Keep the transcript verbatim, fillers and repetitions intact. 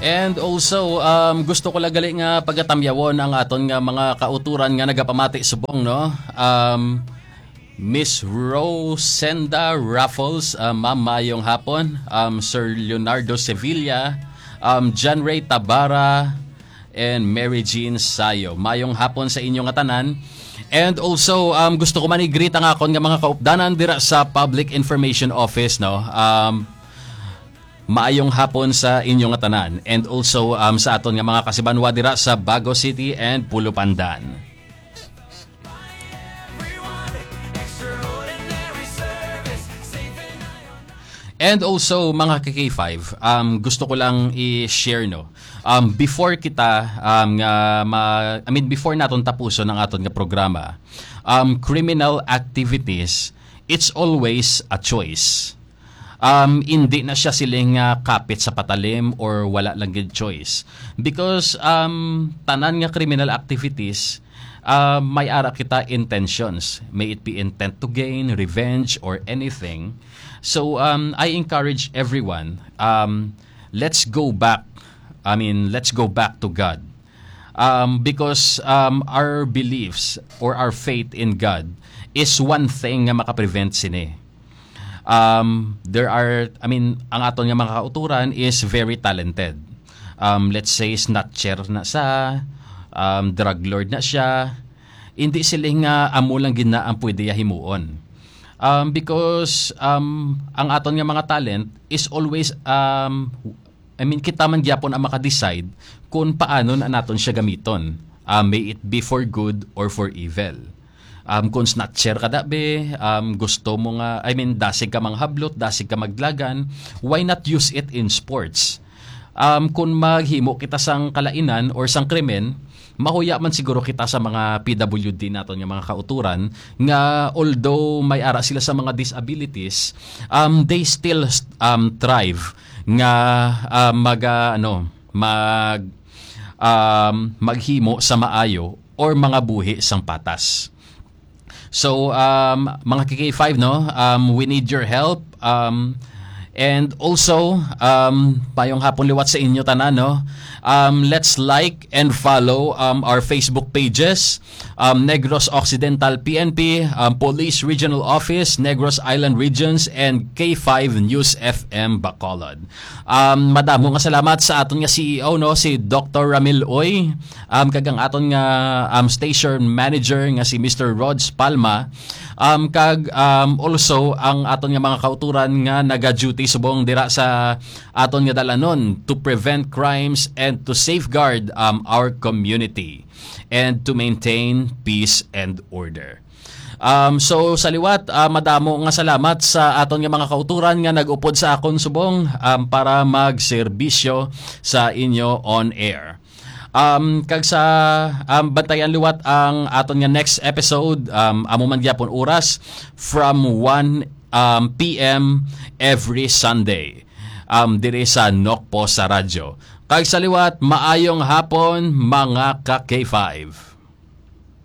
And also, um, gusto ko lang gali nga pagatamyawon ang aton nga mga kauturan nga nagapamati subong, no? Um, Miss Rosenda Raffles, uh, ma'am, mayong hapon. Um, Sir Leonardo Sevilla, um, John Ray Tabara, and Mary Jean Sayo. Mayong hapon sa inyo nga tanan. And also, um, gusto ko man i-greet ang akon nga mga kaupdanan dira sa Public Information Office, no? Um, maayong hapon sa inyo nga tanan. And also, um, sa aton nga mga kasibanwa dira sa Bago City and Pulupandan. And also, mga ka K five, um, gusto ko lang i-share, no. Um, before kita, um, nga ma-, I mean, before naton tapuson ang aton nga programa, um, criminal activities, it's always a choice. Um, hindi na siya siling nga kapit sa patalim or wala lang gid choice. Because, um, tanan nga criminal activities, uh, may ara kita intentions. May it be intent to gain, revenge, or anything. So, um, I encourage everyone, um, let's go back. I mean, let's go back to God. Um, because, um, our beliefs or our faith in God is one thing nga makaprevent sini. Um, there are, I mean, ang aton nga mga kauturan is very talented. Um, let's say, snatcher na sa, um, drug lord na siya. Hindi sila nga amo lang gid na ang pwede ya himuon. Um, because, um, ang aton nga mga talent is always, um, I mean, kita man gyapon ang maka-decide kung paano na naton siya gamiton. Ah, may it be for good or for evil. Um, kung snatcher ka, dabi, um, gusto mo nga, I mean, dasig ka manghablot, dasig ka magdalagan, why not use it in sports? Um, kung maghimo kita sang kalainan or sang krimen, mahuya man siguro kita sa mga P W D naton nga mga kauturan nga, although may ara sila sa mga disabilities, um, they still, um, thrive nga, ah, mag, ah, ano, mag, um, maghimo sa maayo or mga buhi sang patas. So, um, mga K K five, no, um, we need your help. Um, and also, um, mayong hapon liwat sa inyo tanan, no. Um, let's like and follow, um, our Facebook pages, um, Negros Occidental P N P, um, Police Regional Office, Negros Island Regions, and K five News F M Bacolod. Um, madamo nga salamat sa aton nga C E O, no, si Doctor Ramil Uy, um, kag ang aton nga, um, station manager nga si Mister Rods Palma, um, kag, um, also ang aton nga mga kauturan nga naga-duty subong dira sa aton nga dalanon to prevent crimes and to safeguard, um, our community and to maintain peace and order. Um, so, sa liwat, ah, madamo nga salamat sa aton nga mga kauturan nga nag-upod sa akon subong, um, para magserbisyo sa inyo on air. Um, kag sa, um, bantayan liwat ang aton nga next episode, um, amo man gyapon oras, from one, um, P M every Sunday, um, diri sa Nokpo sa Radyo. Kag sa liwat, maayong hapon, mga ka K five.